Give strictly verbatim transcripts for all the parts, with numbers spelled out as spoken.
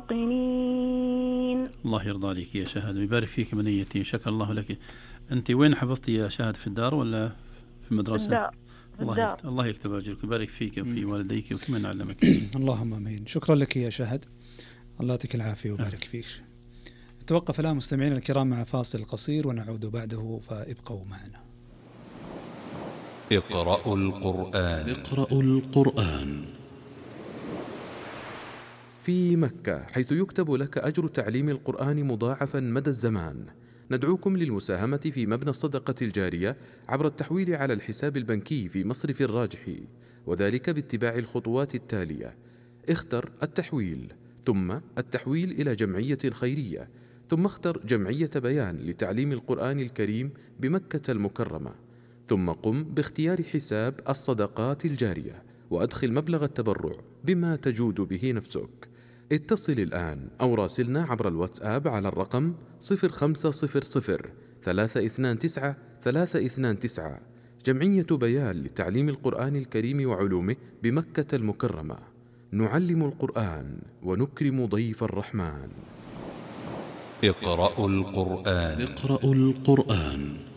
موقنين. الله يرضى عليك يا شهد ويبارك فيك بنيتي، شكر الله لك. أنت وين حفظتي يا شهد، في الدار ولا في المدرسة؟ الدار. الله يكتب, الله يكتب أجرك ويبارك فيك وفي والديك وفي من علمك. اللهم آمين. شكرا لك يا شهد، الله يعطيك العافية ويبارك فيك. نتوقف الآن مستمعينا الكرام مع فاصل قصير ونعود بعده، فابقوا معنا. اقرأوا القرآن. اقرأوا القرآن. في مكة، حيث يكتب لك أجر تعليم القرآن مضاعفا مدى الزمان، ندعوكم للمساهمة في مبنى الصدقة الجارية عبر التحويل على الحساب البنكي في مصرف الراجحي، وذلك باتباع الخطوات التالية: اختر التحويل، ثم التحويل إلى جمعية خيرية، ثم اختر جمعية بيان لتعليم القرآن الكريم بمكة المكرمة، ثم قم باختيار حساب الصدقات الجارية وأدخل مبلغ التبرع بما تجود به نفسك. اتصل الآن أو راسلنا عبر الواتساب على الرقم صفر خمسة صفر صفر ثلاثة اثنان تسعة ثلاثة اثنان تسعة. جمعية بيان لتعليم القرآن الكريم وعلومه بمكة المكرمة. نعلم القرآن ونكرم ضيف الرحمن. اقرأوا القرآن. اقرأوا القرآن.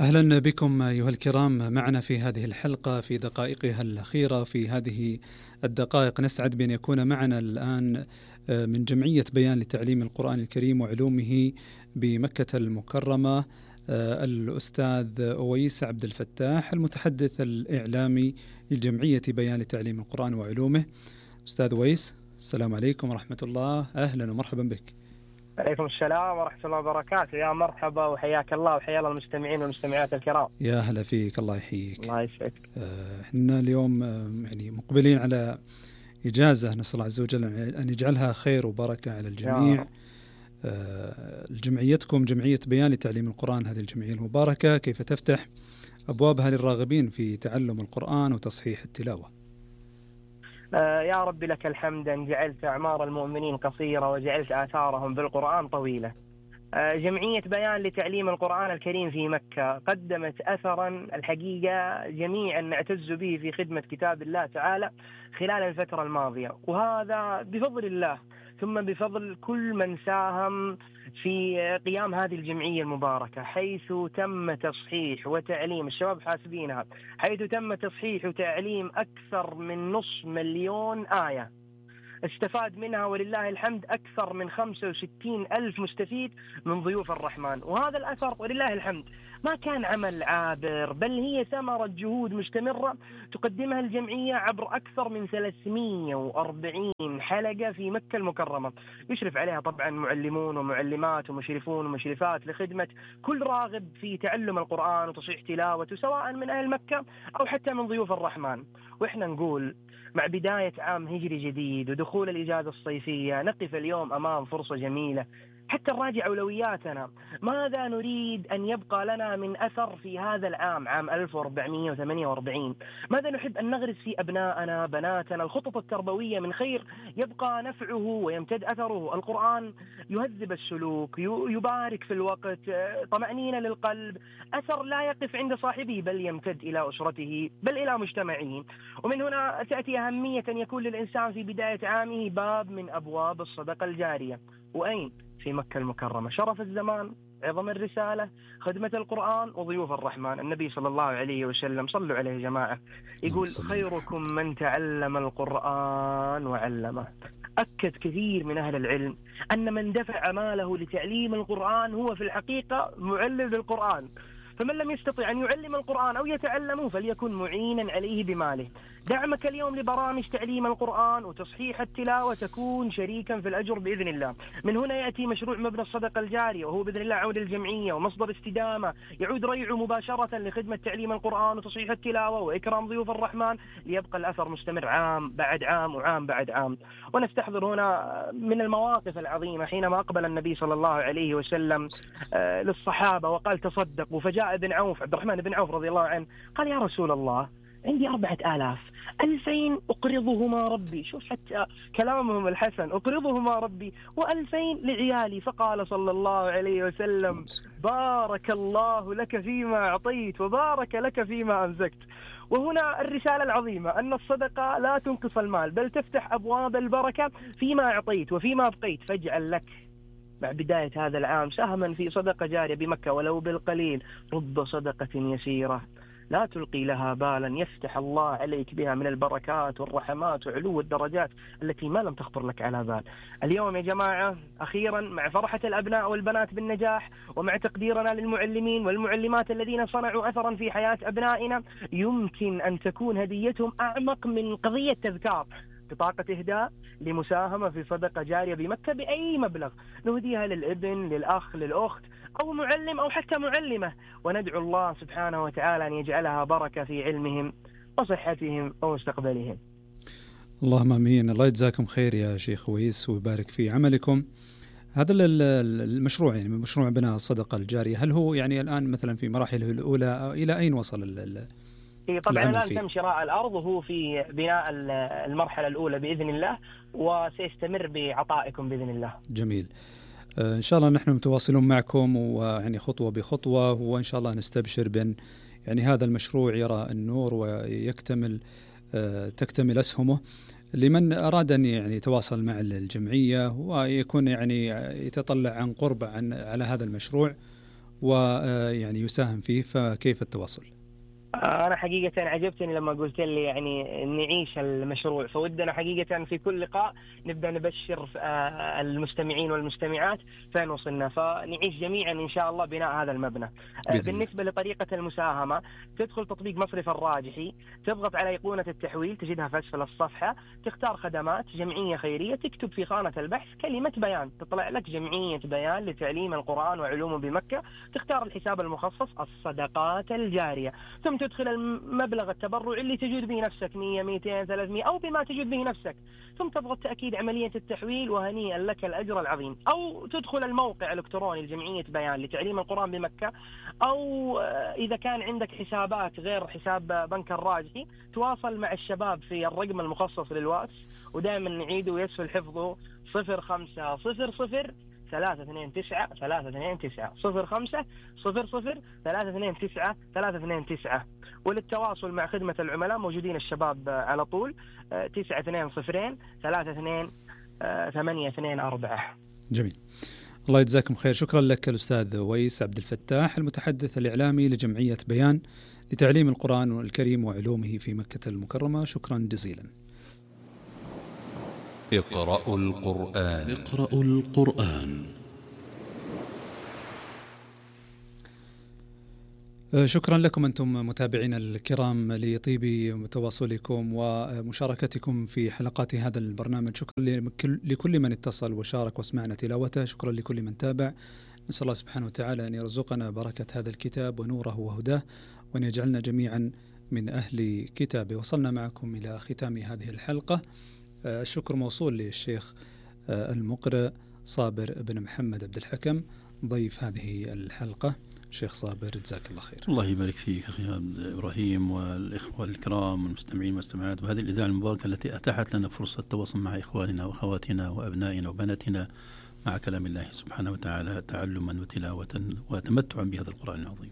أهلا بكم أيها الكرام معنا في هذه الحلقة في دقائقها الأخيرة. في هذه الدقائق نسعد بأن يكون معنا الآن من جمعية بيان لتعليم القرآن الكريم وعلومه بمكة المكرمة الأستاذ أويس عبد الفتاح، المتحدث الإعلامي لجمعية بيان لتعليم القرآن وعلومه. أستاذ أويس، السلام عليكم ورحمة الله، أهلا ومرحبا بك. عليكم السلام ورحمة الله وبركاته، يا مرحبا وحياك الله وحيا الله المستمعين والمستمعات الكرام. يا هلا فيك، الله يحييك. الله يسعدك. احنا اليوم يعني مقبلين على إجازة، نسأل الله عز وجل أن يجعلها خير وبركة على الجميع. جمعيتكم جمعية بيان لتعليم القرآن، هذه الجمعية المباركة، كيف تفتح أبوابها للراغبين في تعلم القرآن وتصحيح التلاوة؟ يا رب لك الحمد أن جعلت أعمار المؤمنين قصيرة وجعلت آثارهم بالقرآن طويلة. جمعية بيان لتعليم القرآن الكريم في مكة قدمت أثرا الحقيقة جميعا نعتز به في خدمة كتاب الله تعالى خلال الفترة الماضية، وهذا بفضل الله ثم بفضل كل من ساهم في قيام هذه الجمعية المباركة، حيث تم تصحيح وتعليم الشباب حاسبينها، حيث تم تصحيح وتعليم أكثر من نصف مليون آية استفاد منها ولله الحمد أكثر من خمسة وستين ألف مستفيد من ضيوف الرحمن. وهذا الأثر ولله الحمد ما كان عمل عابر، بل هي ثمرة جهود مستمرة تقدمها الجمعية عبر أكثر من ثلاثمئة وأربعين حلقة في مكة المكرمة، يشرف عليها طبعا معلمون ومعلمات ومشرفون ومشرفات لخدمة كل راغب في تعلم القرآن وتصحيح تلاوته، سواء من أهل مكة أو حتى من ضيوف الرحمن. وإحنا نقول مع بداية عام هجري جديد ودخول الإجازة الصيفية نقف اليوم أمام فرصة جميلة حتى نراجع أولوياتنا، ماذا نريد أن يبقى لنا من أثر في هذا العام، عام ألف وأربعمئة وثمانية وأربعين، ماذا نحب أن نغرس في أبنائنا بناتنا، الخطط التربوية من خير يبقى نفعه ويمتد أثره. القرآن يهذب السلوك، يبارك في الوقت، طمأنينة للقلب، أثر لا يقف عند صاحبه بل يمتد إلى أسرته بل إلى مجتمعه. ومن هنا تأتي أهمية أن يكون للإنسان في بداية عامه باب من أبواب الصدقة الجارية. وأين؟ في مكة المكرمة، شرف الزمان، عظم الرسالة، خدمة القرآن وضيوف الرحمن. النبي صلى الله عليه وسلم، صلوا عليه يا جماعة، يقول خيركم من تعلم القرآن وعلمه. أكد كثير من أهل العلم أن من دفع ماله لتعليم القرآن هو في الحقيقة معلم للقرآن، فمن لم يستطع أن يعلم القرآن أو يتعلمه فليكن معينا عليه بماله. دعمك اليوم لبرامج تعليم القرآن وتصحيح التلاوة تكون شريكا في الأجر بإذن الله. من هنا يأتي مشروع مبنى الصدقة الجارية، وهو بإذن الله عود الجمعية ومصدر استدامة يعود ريعه مباشرة لخدمة تعليم القرآن وتصحيح التلاوة وإكرام ضيوف الرحمن، ليبقى الأثر مستمر عام بعد عام وعام بعد عام. ونستحضر هنا من المواقف العظيمة حينما أقبل النبي صلى الله عليه وسلم للصحابة وقال تصدقوا، فجاء ابن عوف، عبد الرحمن بن عوف رضي الله عنه، قال يا رسول الله عندي أربعة آلاف ألفين أقرضهما ربي، شوف حتى كلامهم الحسن، أقرضهما ربي وألفين لعيالي. فقال صلى الله عليه وسلم بارك الله لك فيما أعطيت وبارك لك فيما أمسكت. وهنا الرسالة العظيمة أن الصدقة لا تنقص المال بل تفتح أبواب البركة فيما أعطيت وفيما أبقيت. فاجعل لك مع بداية هذا العام سهما في صدقة جارية بمكة ولو بالقليل، رب صدقة يسيرة لا تلقي لها بالا يفتح الله عليك بها من البركات والرحمات وعلو الدرجات التي ما لم تخطر لك على بال. اليوم يا جماعة أخيرا مع فرحة الأبناء والبنات بالنجاح ومع تقديرنا للمعلمين والمعلمات الذين صنعوا أثرا في حياة أبنائنا، يمكن أن تكون هديتهم أعمق من قضية تذكار، بطاقة إهداء لمساهمة في صدقة جارية بمكة بأي مبلغ نهديها للابن للأخ للأخت أو معلم أو حتى معلمة، وندعو الله سبحانه وتعالى أن يجعلها بركة في علمهم وصحتهم ومستقبلهم. اللهم آمين. الله يجزاكم خير يا شيخ ويس ويبارك في عملكم. هذا المشروع يعني مشروع بناء الصدقة الجارية، هل هو يعني الآن مثلا في مراحله الأولى إلى أين وصل ال طبعا الآن تم شراء الأرض وهو في بناء المرحلة الأولى بإذن الله، وسيستمر بعطائكم بإذن الله. جميل. إن شاء الله نحن متواصلون معكم ويعني خطوة بخطوة، وإن شاء الله نستبشر بأن يعني هذا المشروع يرى النور ويكتمل تكتمل أسهمه لمن أراد أن يعني يتواصل مع الجمعية ويكون يعني يتطلع عن قرب عن على هذا المشروع ويعني يساهم فيه. فكيف التواصل؟ أنا حقيقة عجبتني لما قلت لي يعني نعيش المشروع، فودنا حقيقة في كل لقاء نبدأ نبشر المستمعين والمستمعات فين وصلنا، فنعيش جميعا إن شاء الله بناء هذا المبنى. بالنسبة لطريقة المساهمة، تدخل تطبيق مصرف الراجحي، تضغط على أيقونة التحويل تجدها في أسفل الصفحة، تختار خدمات جمعية خيرية، تكتب في خانة البحث كلمة بيان، تطلع لك جمعية بيان لتعليم القرآن وعلومه بمكة، تختار الحساب المخصص الصدقات الجارية، ثم تدخل المبلغ التبرع اللي تجد به نفسك مية مئتين ثلاثمئة أو بما تجد به نفسك، ثم تضغط تأكيد عملية التحويل وهنيئا لك الأجر العظيم. أو تدخل الموقع الإلكتروني لجمعية بيان لتعليم القرآن بمكة، أو إذا كان عندك حسابات غير حساب بنك الراجحي تواصل مع الشباب في الرقم المخصص للواتس، ودائما نعيده ويسهل حفظه صفر خمسة صفر صفر ثلاثة اثنين تسعة ثلاثة اثنين تسعة صفر خمسة صفر صفر ثلاثة اثنين تسعة ثلاثة اثنين تسعة. وللتواصل مع خدمة العملاء موجودين الشباب على طول تسعة اثنين صفرين ثلاثة اثنين ثمانية اثنين أربعة. جميل. الله يجزاكم خير. شكرا لك الأستاذ ويس عبد الفتاح المتحدث الإعلامي لجمعية بيان لتعليم القرآن الكريم وعلومه في مكة المكرمة. شكرا جزيلا. اقرأوا القرآن. اقرأوا القرآن. شكرا لكم أنتم متابعين الكرام لطيب تواصلكم ومشاركتكم في حلقات هذا البرنامج. شكرا لكل من اتصل وشارك واسمعنا تلاوته. شكرا لكل من تابع. نسأل الله سبحانه وتعالى أن يرزقنا بركة هذا الكتاب ونوره وهداه، وأن يجعلنا جميعا من أهل كتابه. وصلنا معكم إلى ختام هذه الحلقة. الشكر موصول للشيخ المقرئ صابر بن محمد عبد الحكم ضيف هذه الحلقة. شيخ صابر جزاك الله خير. الله يبارك فيك أخي إبراهيم والإخوة الكرام والمستمعين والمستمعات، وهذه الإذاعة المباركة التي أتاحت لنا فرصة التواصل مع إخواننا وأخواتنا وأبنائنا وبناتنا مع كلام الله سبحانه وتعالى تعلما وتلاوة وتمتعا بهذا القرآن العظيم.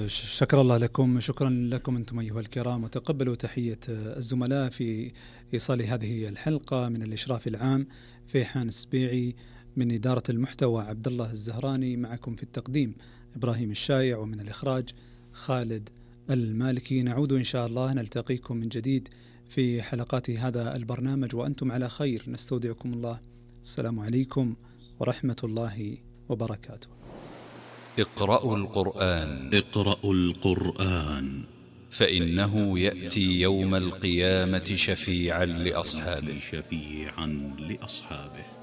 شكر الله لكم. شكرا لكم أنتم أيها الكرام، وتقبلوا تحية الزملاء في إيصال هذه الحلقة من الإشراف العام فيحان السبيعي، من إدارة المحتوى عبد الله الزهراني، معكم في التقديم إبراهيم الشايع، ومن الإخراج خالد المالكي. نعود إن شاء الله نلتقيكم من جديد في حلقات هذا البرنامج وأنتم على خير. نستودعكم الله. السلام عليكم ورحمة الله وبركاته. اقرأوا القرآن. اقرأوا القرآن فإنه يأتي يوم القيامة شفيعا لأصحابه. شفيعا لأصحابه.